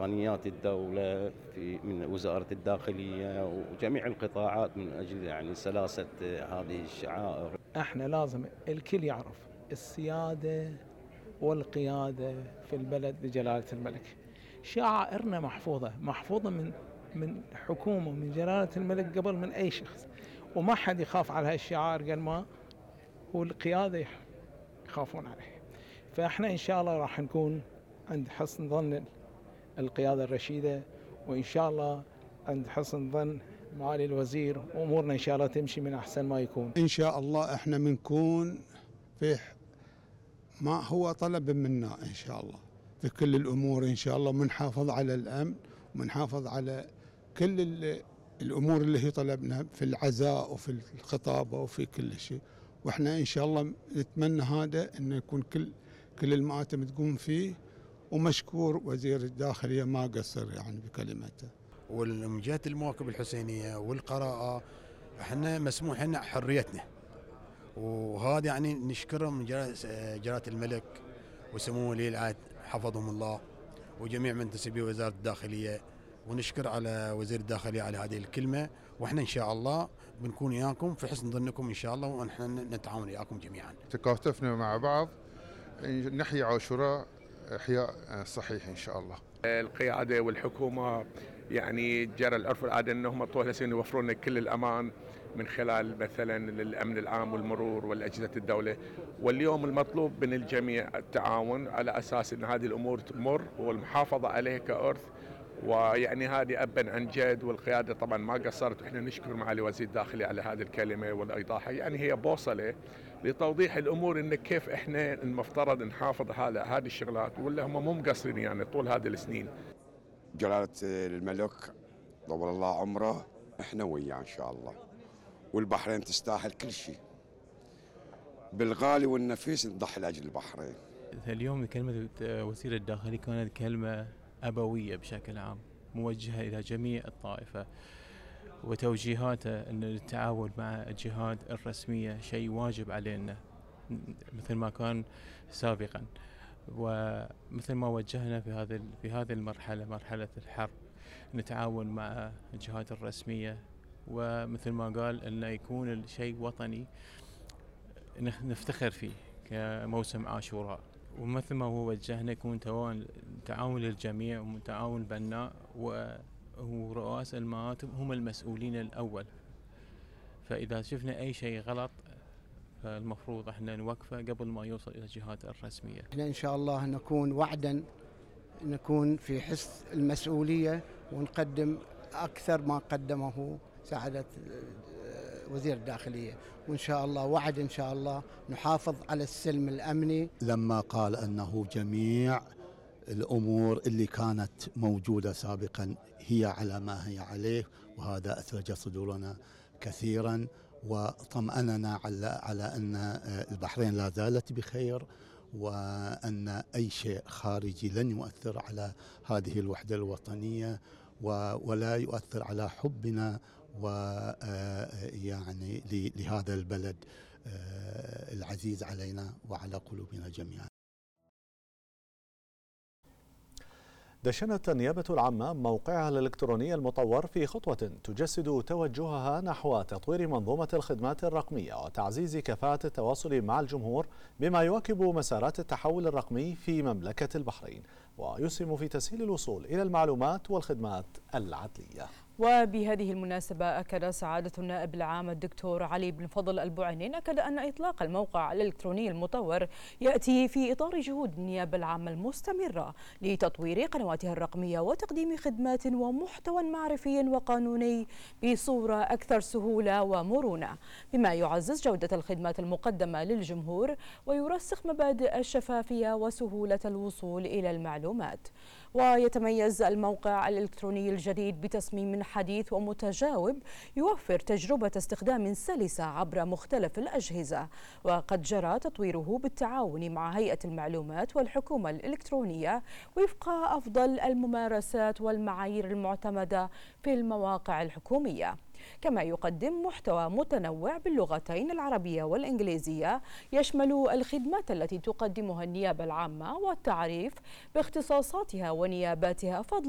إمكانيات الدولة من وزارة الداخلية وجميع القطاعات من أجل يعني سلاسة هذه الشعائر. احنا لازم الكل يعرف السيادة والقيادة في البلد لجلالة الملك. شعائرنا محفوظة من حكومة من جلالة الملك قبل من أي شخص، وما حد يخاف على هالشعائر قال ما هو القيادة يخافون عليه. فإحنا إن شاء الله راح نكون عند حسن ظن القيادة الرشيدة، وإن شاء الله عند حسن ظن معالي الوزير، وأمورنا إن شاء الله تمشي من أحسن ما يكون. إن شاء الله إحنا بنكون في ما هو طلب منا إن شاء الله في كل الأمور إن شاء الله، منحافظ على الأمن ومنحافظ على كل الأمور اللي هي طلبنا في العزاء وفي الخطابة وفي كل شيء. وإحنا إن شاء الله نتمنى هذا إنه يكون كل المآتم تقوم فيه. ومشكور وزير الداخلية ما قصر يعني بكلمته. ومن جهة المواكب الحسينية والقراءة احنا مسموح لنا حريتنا، وهذا يعني نشكرهم من جلالة الملك وسمو ولي العهد حفظهم الله وجميع منتسبي وزارة الداخلية، ونشكر على وزير الداخلية على هذه الكلمة. واحنا ان شاء الله بنكون وياكم في حسن ظنكم ان شاء الله، ونحن نتعاون وياكم جميعا. تكاتفنا مع بعض نحيي عاشوراء إحياء صحيح إن شاء الله. القيادة والحكومة يعني جرى العرف والعادة أنهم طول السنين يوفرون لنا كل الأمان من خلال مثلا الأمن العام والمرور والأجهزة الدولة. واليوم المطلوب من الجميع التعاون على أساس أن هذه الأمور تمر والمحافظة عليها كأرث، ويعني هذه أبا عن جد. والقيادة طبعا ما قصرت، وإحنا نشكر معالي وزير الداخلية على هذه الكلمة والإيضاح. يعني هي بوصلة لتوضيح الأمور إن كيف إحنا المفترض نحافظ على هذه الشغلات، ولا هم مو مقصرين يعني طول هذه السنين. جلالة الملك طول الله عمره إحنا وياه إن شاء الله، والبحرين تستاهل كل شيء، بالغالي والنفيس نضحي لأجل البحرين. اليوم كلمة وزير الداخلية كانت كلمة أبوية بشكل عام، موجهة إلى جميع الطائفة، وتوجيهاته أن التعاون مع الجهات الرسمية شيء واجب علينا مثل ما كان سابقا. ومثل ما وجهنا في هذه المرحلة، مرحلة الحرب، نتعاون مع الجهات الرسمية، ومثل ما قال أنه يكون الشيء وطني نفتخر فيه كموسم عاشوراء. ومثل ما هو وجهنا يكون تعاون للجميع وتعاون بناء، ورؤساء المآتم هم المسؤولين الأول. فإذا شفنا أي شيء غلط فالمفروض احنا نوقفه قبل ما يوصل إلى الجهات الرسمية. احنا إن شاء الله نكون وعدا، نكون في حس المسؤولية ونقدم أكثر ما قدمه سعادة وزير الداخلية، وإن شاء الله وعد إن شاء الله نحافظ على السلم الأمني. لما قال أنه جميع الأمور اللي كانت موجودة سابقا هي على ما هي عليه، وهذا أثلج صدورنا كثيرا وطمأننا على أن البحرين لا زالت بخير، وأن أي شيء خارجي لن يؤثر على هذه الوحدة الوطنية ولا يؤثر على حبنا ويعني لهذا البلد العزيز علينا وعلى قلوبنا جميعا. دشنت النيابة العامة موقعها الإلكتروني المطور في خطوة تجسد توجهها نحو تطوير منظومة الخدمات الرقمية وتعزيز كفاءة التواصل مع الجمهور، بما يواكب مسارات التحول الرقمي في مملكة البحرين ويسهم في تسهيل الوصول إلى المعلومات والخدمات العدلية. وبهذه المناسبة أكد سعادة النائب العام الدكتور علي بن فضل البوعينين أن إطلاق الموقع الإلكتروني المطور يأتي في إطار جهود النيابة العامة المستمرة لتطوير قنواتها الرقمية وتقديم خدمات ومحتوى معرفي وقانوني بصورة أكثر سهولة ومرونة، بما يعزز جودة الخدمات المقدمة للجمهور ويرسخ مبادئ الشفافية وسهولة الوصول إلى المعلومات. ويتميز الموقع الإلكتروني الجديد بتصميم حديث ومتجاوب يوفر تجربة استخدام سلسة عبر مختلف الأجهزة، وقد جرى تطويره بالتعاون مع هيئة المعلومات والحكومة الإلكترونية وفق أفضل الممارسات والمعايير المعتمدة في المواقع الحكومية. كما يقدم محتوى متنوع باللغتين العربية والإنجليزية يشمل الخدمات التي تقدمها النيابة العامة والتعريف باختصاصاتها ونياباتها، فضلا